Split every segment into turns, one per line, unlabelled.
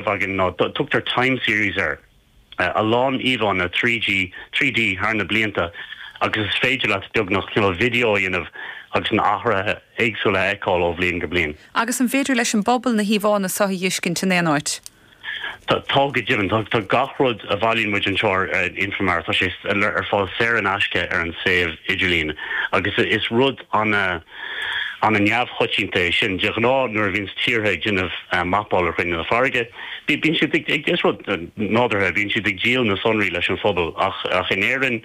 Againn ná, tugtar time series air, a lán íomhánna 3G, 3D thar na blianta agus is féidir leat beagnach cineál video a dhéanamh agus na athruithe éagsúla a fheiceáil ó bhliain go bliain.
Agus an féidir leis an bpobal na híomhánna seo a dh'fheiscint in aon áit?
Tá, go deimhin. Tá gach rud a bhailíonn muid anseo ar Infomar, tá sé ar fáil saor in aisce ar an suíomh idirlín agus is rud ana, ana-neamhchoitianta é sin. De ghnáth nuair a bhíonns tíortha ag déanamh mapáil ar chruinne na farraige, bíonn siad ag, is rud nádúrtha, bíonn siad ag díol na sonraí leis an phobal ach in Éirinn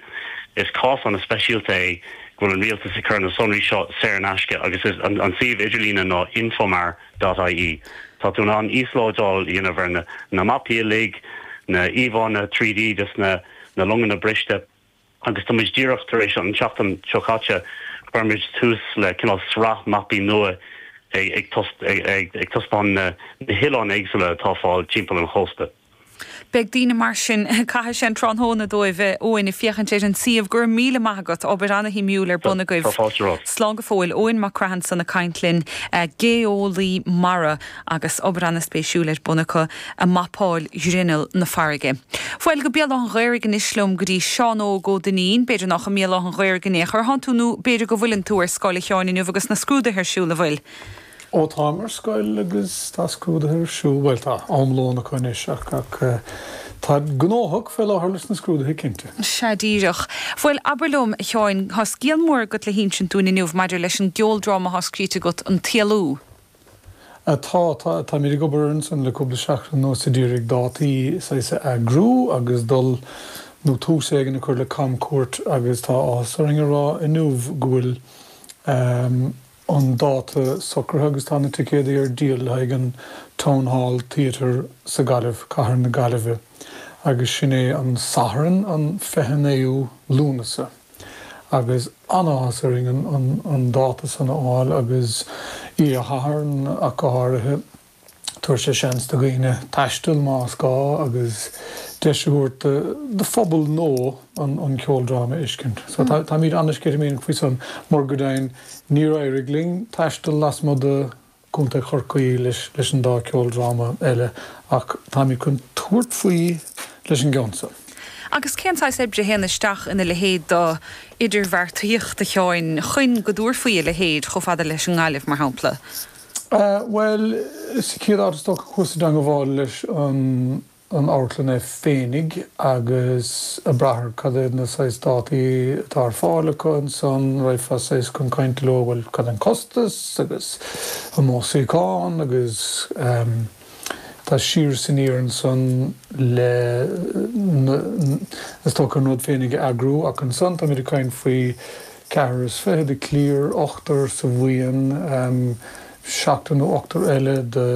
is cás ana-speisialta é go bhfuil an rialtas ag cur na sonraí seo saor in aisce agus is an suíomh idirlíne ná infomar dot ie. Tá tú in ann íoslódáil a dhéanamh ar na mapaí uilig, na íomhánna 3D des na longanna briste. Agus tá muid díreach tar éis, an tseachtain seo caite, chuir muid tús le cineál sraith mapaí nua ag taispeáint na hoileáin éagsúla atá ar fáil timpeall an chósta.
Beidh daoine mar sin, caithfidh sé an tráthnóna dóibh, Eoin, ag féachaint ar an suíomh. Go raibh míle maith agat, obair ana-shuimiúil ar bun agaibh.
Tá fáilte romhat.
Slán go fóill. Eoin Mac Craith ansan ag caint linn, geolaí mara. agus obair ana-spéisiúil ar bun acu ag mapáil ghrinneall na farraige. Bhuel, go Béal Átha an Ghaorthaidh anois liom go dtí Seán Óg Ó Duinnín. B'fhéidir nách i mBéal Átha an Ghaorthaidh in aon chor thánn tú nó b'fhéidir go bhfuileann tú ar scoil a Sheáin inniu agus na scrúduithe ar siúl, an bhfuil?
Ó táim ar scoil agus tá scrúduithe ar siúl, bhuel tá am lóin acu anois ach ach táid gnóthach fé láthair leis na scrúduithe cinnte.
Sea díreach. Bhuel, abair liom, a Sheáin, tá scéal mór agat le hinsint dúinn inniu maidir leis an gceoldráma atá scríte agat, An tÉalú.
Tá, tá, táimid ag obair ansan le cúpla seachtain anuas ag iarraidh dátaí saghas a eagrú agus dul nó tús éigin a chur le camchuairt agus tá áthas orainn a rá inniu go bhfuil an dáta socraithe agus tá na ticéadaí ar díol le haghaidh an Town Hall Theatre sa Gaillimh, Cathair na Gaillimhe agus sin é an Satharn an 29ú Lúnasa. agus an-áthas orainn an dáta san a fháil agus oíche Shathairn ach go háirithe. Tabharfaidh sé seans do dhaoine taisteal más gá agus deis a thabhairt do phobal nua an ceoldráma a fheiscint. So táimid an-sceitimíneach faoi san mar go deimhin níor éirigh linn taisteal lasmuigh de Contae Chorcaí leis an dá ceoldráma eile ach táimid chun tabhairt faoi leis an gceann seo.
Agus cén saghas oibre a théann isteach ina leithéid d'idirbheartaíocht, a Sheáin, chun go dtabharfaí a leithéid chomh fada leis an nGaillimh, mar shampla?
Bhuel, sa chéad áit is dócha chuas i dteangabháil leis an an amharclann é féinig agus ag brath ar cad iad na saghas dátaí atá ar fáil acu ansan, raghfá saghas chun cainte leo, bhuel cad é an costas agus an mó suíochán agus ehm tá siar is aniar ansan le na is dócha an rud féinig a eagrú ach ansan táimid ag caint faoi ceathrar is fiche de chliar, ochtar sa bhuíon, ehm seachtar nó ochtar eile de.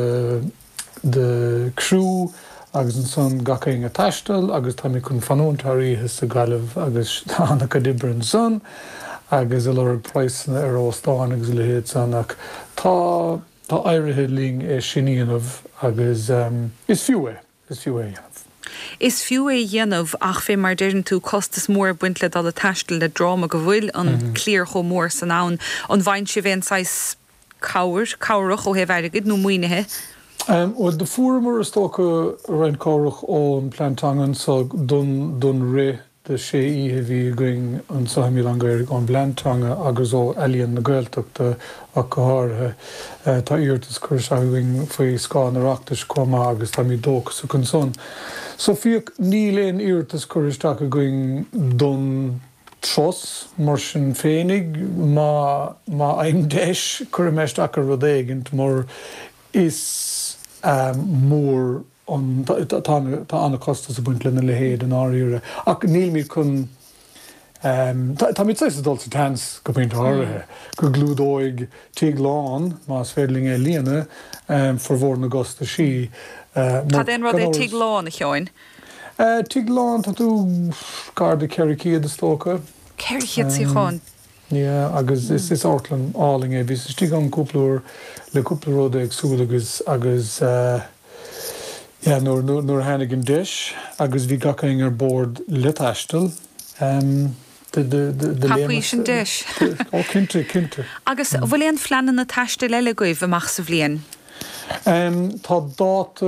de criú agus ansan gach éinne ag taisteal agus táimid chun fanúint thar oíche sa Ghaillimh agus tá an-chuid oibre ansan agus ag lorg praghsanna ar óstáin agus a leithéid san ach tá tá éirithe linn é sin a dhéanamh agus is fiú é, is fiú é a dhéanamh.
Is fiú é a dhéanamh ach fé mar deireann tú costas mór ag baint le dul ag taisteal le dráma go bhfuil an cliar chomh mór san ann. An bhfaigheann sibh aon saghas cabhair, cabhrach ó thaobh airgid nó maoinithe?
Bhuel, do fuaireamar, is dócha, roinnt cabhrach ón bPlean Teanga anso don, don rith de sé oíche a bhí againn anso i mBéal Átha an Ghaorthaidh, ón bPlean Teanga agus ó Ealaíon na Gaeltachta ach go háirithe. Tá iarratas curtha isteach againn faoi scáth an Oireachtais chomh maith agus táimid dóchasach ansan. So féach, níl aon iarratas curtha isteach againn don. turas. Mar sin féinig, má má fhaighim deis, cuirfidh mé isteach ar rud éigint mar is mór an, tá tá an-chostas ag baint lena leithéid i ndáiríre. Ach nílimid chun, táimid saghas ag dul sa tseans go pointe áirithe, go gclúdóidh tigh lán, más féidir linn é a líonadh, formhór na gcostaisí.
Mar Cad é an rud é tigh lán, a Sheáin?
Tigh lán, tá tú gar do 400 is dócha.
400 suíochán?
Yeah, agus is is amharclann álainn é. Bhíos istigh ann cúpla uair le cúpla rud éagsúil agus agus yeah nuair nuair nuair a tháinig an deis agus bhí gach éinne ar bord le taisteal do do do do
Thapaís an deis.
Ó cinnte, cinnte.
Agus an bhfuil aon phleananna taistil eile agaibh amach sa bhliain?
Tá dáta.